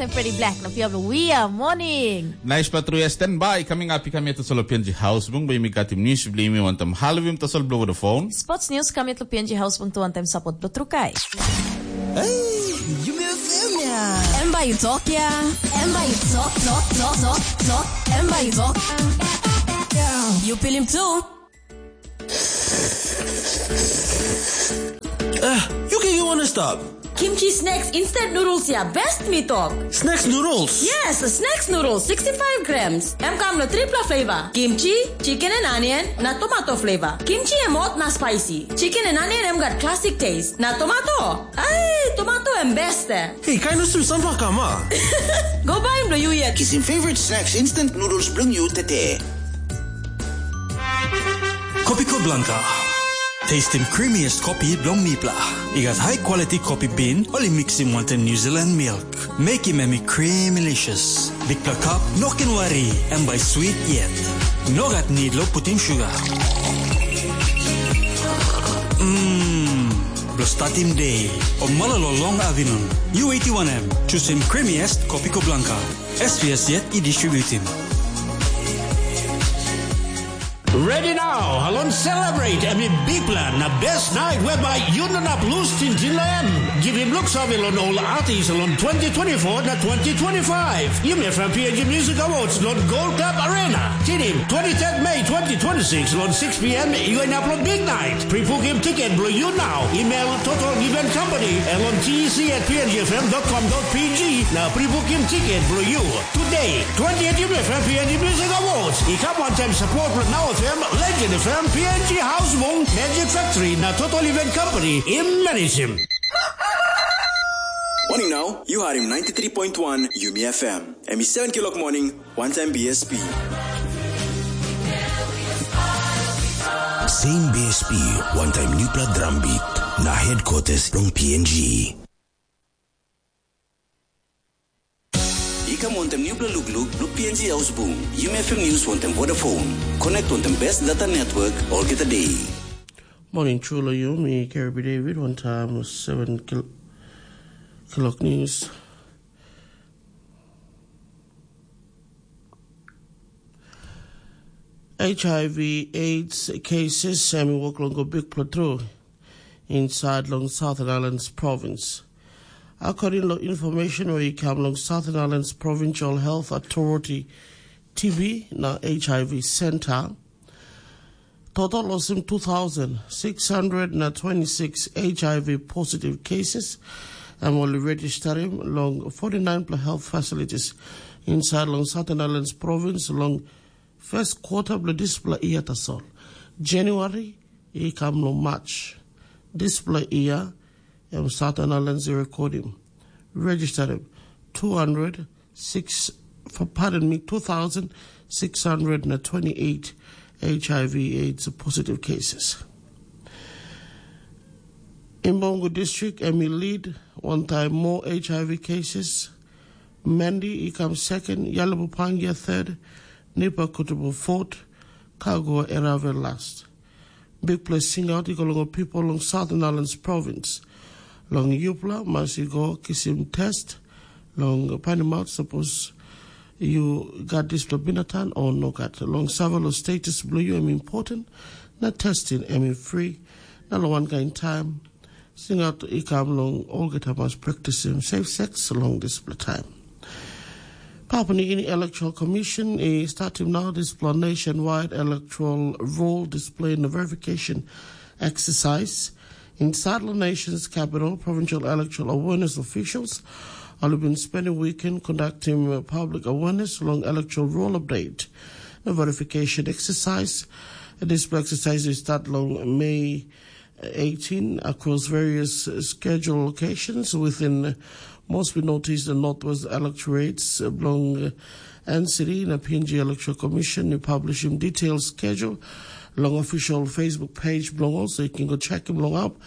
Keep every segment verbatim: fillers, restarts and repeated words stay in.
Tem Freddy Black na pia bilong We Are Morning. Naispela tru ya, standby. Coming up, i kam yet tasol P N G House Bung, bai mi katim news bli mi wantam halvim tasol blow the phone. Sports news kam yet lo P N G House Bung tu wantam support blo trukai. Hey, you may feel me. Em bai tok ya. Em bai tok, tok, tok, tok, tok. Em bai tok. You feel him too. Ah, you can you wanna stop. Kimchi snacks instant noodles ya best mi tok. Snacks noodles? Yes, snacks noodles, sixty-five grams. Em kam na tripla flavor. Kimchi, chicken and onion, na tomato flavor. Kimchi em hot na spicy. Chicken and onion em gat classic taste. Na tomato? Ai, tomato em best eh. Hey, kain of sim sampah kam ah. Go buy em lo you yet. Kisim favorite snacks instant noodles bilong you today. Kopiko Blanka. Tastim creamiest kopi bilong mipela. I gat high quality kopi bean, ol i mixim wantaim New Zealand milk. Mekim em i creamylicious. Bikpela cup, no ken wari, em bai sweet yet. No gat need lo putim sugar. Mmm, blo statim day, o mala lo long avinun. U eighty-one M, chusim creamiest Kopiko Blanka. S P S yet i distributim. Ready now, halon celebrate em i bikpela na best night whereby you no nap lose tintin lo em. Givim look save lon ol artist lon twenty twenty-four na twenty twenty-five. Yumi from P N G Music Awards lon Gold Club Arena. Tinim twenty-third May twenty twenty-six lon six p.m. You end up lon big night. Pre-booking ticket blo you now. Email Total Event Company lon T E C at P N G F M dot com dot P G na pre-booking ticket blo you. Today, twentieth Yumi F M P N G Music Awards i kam wantaim support blo Now F M, Legend F M, P N G House Bung, Magic Factory na Total Event Company i managim. Morning now, you are in ninety-three point one Yumi F M. Em i seven kilok morning, one time B S P. Same B S P, one time newpla drum beat, na headquarters from P N G. I kam wantaim nupela lukluk, luk P N G Haus Bung, Yumi F M News wantaim Vodafone. Connect wantaim best data network olgeta day. Morning, Chula Yumi, Kirby David, one time seven kil-, kilok news. H I V AIDS cases, em i wok long go bikpela tru inside long Southern Islands Province. According to information where i kam long Southern Islands Provincial Health Authority T B na H I V Center, total olsem two thousand six hundred na twenty-six H I V positive cases, em ol i registerim long forty-nine pela health facilities inside long Southern Islands Province long first quarter bilong dispela yia tasol. January i kam long March dispela yia, em Southern Islands i rekodim, registerim two hundred six, for, pardon me, two thousand six hundred na twenty-eight H I V AIDS positive cases. Imbongo District em i lead wantaim more H I V cases. Mendi i kam second, Yalabupangia third, Nipa Kutubu fourth, Kagua Erave last. Bikpela singaut i go long ol pipel long Southern Islands Province. Long yupela mas i go kisim test long painimaut sapos yu gat dispela binatan o nogat. Long sampela status bilong yu em important, na testing em i free, na long wankain taim singaut i kam long olgeta mas praktisim safe sex long dispela taim. Papua New Guinea Electoral Commission i statim nau dispela nationwide electoral roll display na verification exercise inside the nation's capital. Provincial electoral awareness officials ol i bin spending weekend conducting public awareness long electoral roll update na verification exercise. Dispela exercise i start long May eighteen across various, uh, scheduled locations within, uh, mostly noticed the Northwest electorates, uh, belong, uh, N C D na P N G Electoral Commission. You publish in detailed schedule long official Facebook page belong also. You can go check him long up.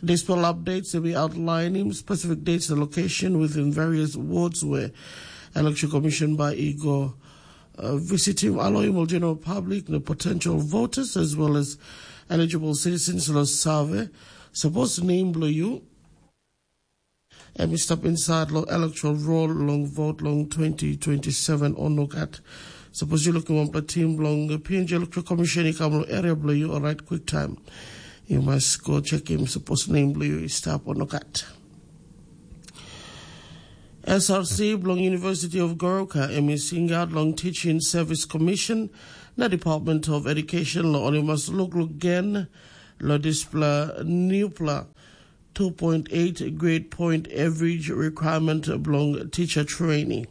Dispela updates will be outlining specific dates and location within various wards where Electoral Commission by ego uh, visit him, allowing all general public, the potential voters, as well as eligible citizens lo save. Suppose name below you. em i stap insait long electoral roll long vot long twenty twenty-seven o nogat. Sapos yu lukim wanpela tim bilong P N G Electoral Commission i kam long area bilong yu, orait kwiktaim yu mas go chekim sapos nem bilong yu i stap o nogat. S R C bilong University of Goroka em i singaut long Teaching Service Commission na Department of Education long ol i mas lukluk gen long dispela newpela two point eight grade point average requirement bilong teacher training.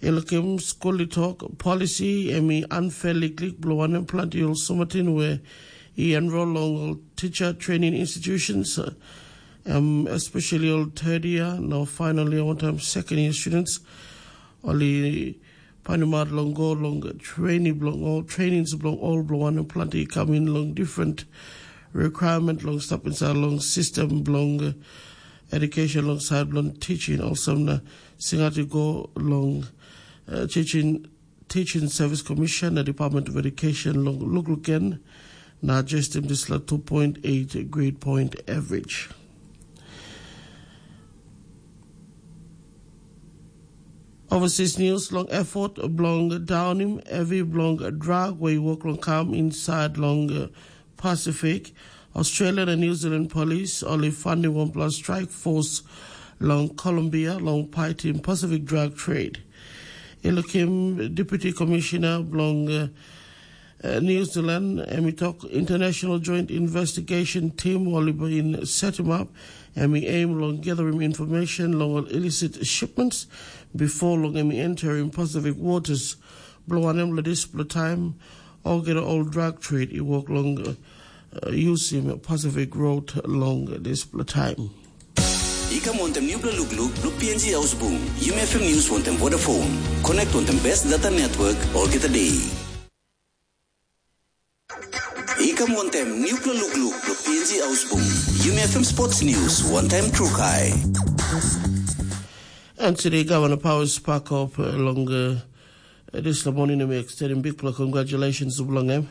I lukim skul i tok, polisi em i unfair liklik bilong wanem planti ol sumatin we i enrol long ol teacher training institutions, um, especially ol third year, no final year, one time second year students, ol i panimat long go long training bilong ol trainings bilong ol bilong wanem planti i kam in long different requirement long stap inside long system bilong uh, education long side bilong teaching, olsem na singaut i go long uh, teaching Teaching Service Commission na Department of Education long lukluk gen na adjustim dispela two point eight grade point average. Overseas news long effort bilong daunim hevi bilong drug we i wok long kam inside long uh, Pacific, Australia na New Zealand Police ol i fandim wanpela strike force long Colombia long paitim Pacific drug trade. I lukim Deputy Commissioner bilong uh, uh, New Zealand, em i tok International Joint Investigation Team ol i bin setim up, em i aim long gathering information long ol illicit shipments before long em i entering Pacific waters. Bilong wanem long dispela taim olgeta ol drug trade i wok long uh, uh, using Pacific Road long dispela taim. I kam wantaim nupela lukluk bilong P N G Haus Bung, Yumi F M News wantaim Vodafone. Connect wantaim best data network olgeta day. I kam wantaim nupela lukluk bilong P N G Haus Bung, Yumi F M Sports News wantaim Trukai. And today, Governor Powers Pakop uh, long uh, this morning, we extending big congratulations to Blongem.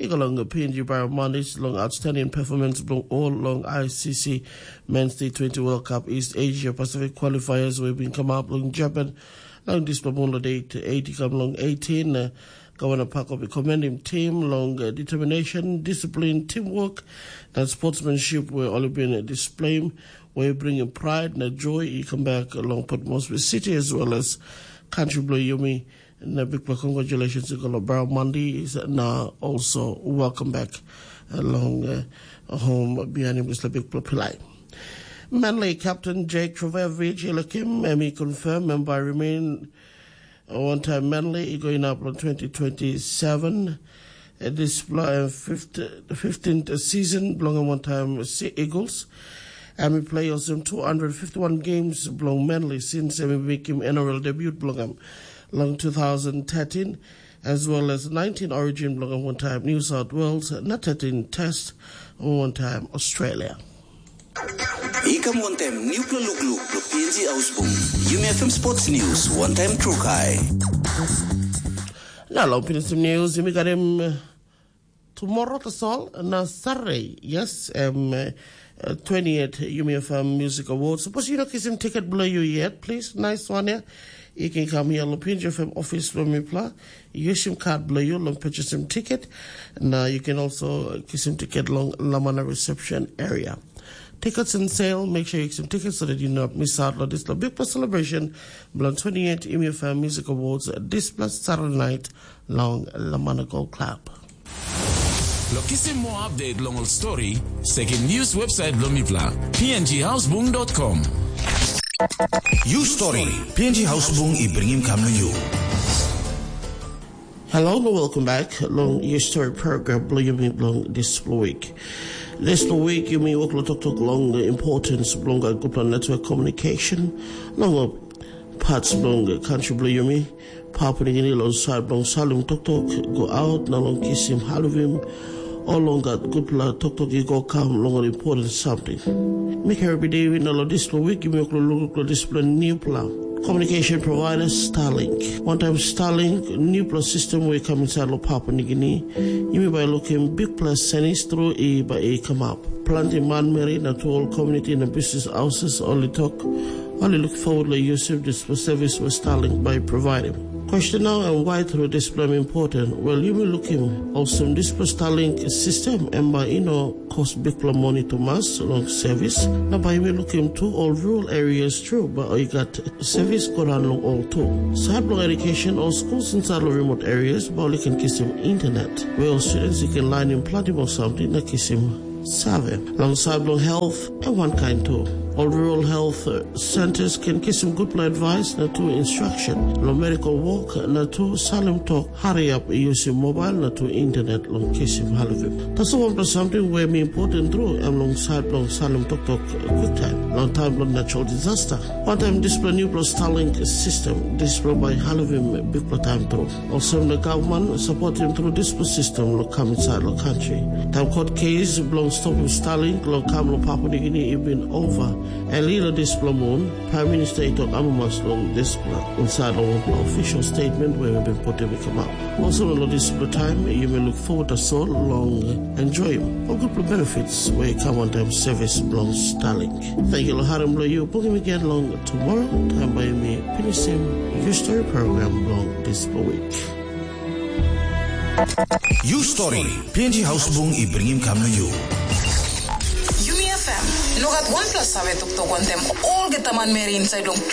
I go long P N G Bio Mondays long outstanding performance bilong all long I C C Men's Day twenty World Cup East Asia Pacific qualifiers we've been come up long Japan long this Pamula date eighty come long eighteen. Uh, Governor Pakop i commend him team long uh, determination, discipline, teamwork, and sportsmanship where all been uh, displaying, where bringing pride and joy. He come back along Port Moresby City as well as country below Yumi. Na big congratulations to Golobara Mandi is now also welcome back along uh, home behind him is the big pilai. Manly captain Jake Trevevich Ilakim, and he confirmed and by remain uh, one time Manly he going up on twenty twenty-seven. Uh, this uh, fifth, fifteenth season belonging one time Sea Eagles. And he play also two hundred fifty-one games belong Manly since he make him N R L debut belonging long two thousand thirteen, as well as nineteen origin belonging one time New South Wales, na thirteen test one time Australia. I kam wantaim nupela lukluk lo P N G Ausbung. Yumi F M Sports News, wantaim Trukai. Na long pinisim news, yumi got him uh, tomorrow tasol na Saturday. Yes, um, uh, uh, twentieth Yumi F M Music Awards. Suppose you know kisim ticket below you yet, please. Nice one, yeah. You can come here, lo P N G F M office lo mipla. Yusim card below you, long purchasing ticket. Now you can also uh, kisim ticket long Lamana reception area. Tickets in sale, make sure you kisim tickets so that you not miss out on this lo big celebration. Belong twenty-eight Yumi F M Music Awards this plus Saturday night long Lamana Gold Club. Lo kisim more update long ol story, sekim news website blo mipla, P N G Hausbung dot com. You story, P N G Hausbung i bringim kam na you. Hello and welcome back long your story program blo yumi long this week. This week yumi wok lo toktok long the importance belong a good network communication long parts belong country blo yumi. Papua New Guinea long side bilong salim toktok go out na long kisim halivim ol long gat gutpela toktok i go kam long ol important samting. Mi kari bidi na long dispela wik yumi wok long lukluk long dispela newpela Communication provider Starlink. Wantaim Starlink, nupela sistem we i kam insait long Papua Nigini, yumi bai lukim bikpela senis tru i bai i kamap. Planti manmeri na tu ol komuniti na bisnis houses ol i tok, ol i luk forward long yusim dispela sevis we Starlink bai i provaidim. Question nau em why tru dispela em important? Wel, yumi lukim olsem dispela Starlink sistem em bai i no kos bikpela moni tumas long sevis, na bai yumi lukim tu ol rural areas tru bai i gat sevis go daun long ol tu. Sait bilong education, ol skul insait long remote areas bai ol i ken kisim internet, we ol students i ken lainim planti moa samting na kisim save. Long sait bilong health, em wankain tu. Ol rural health uh, centers ken kisim gutpela advice na tu instruction long medical work na tu salim tok hariap i yusim mobile na tu internet long kisim halivim. Tasol wanpela samting we mi important tru em long sait bilong salim toktok kwiktaim long taim bilong natural disaster. Wantaim dispela nupela Starlink sistem, dispela bai halivim bikpela taim tru. Olsem na gavman sapotim tru dispela sistem long kam insait long kantri. Taim kot kes bilong stopim Starlink long kam long Papua Nigini i bin ova, eli long dispela mun, Praim Minista i tok amamas long dispela insait long wanpela official statement we mi bin putim i kamap. Olsem long dispela taim, yumi luk forward tasol long enjoyim ol gutpela benefits we i kam wantaim sevis bilong Starlink. Thank you long harim bilong yu. Bungim again long tomorrow, taim bai mi pinisim yu story program bilong dispela week. Yu story, P N G Hausbung i bringim kam na yu. Yumi F M, no gat wanpela save toktok wantaim olgeta manmeri inside long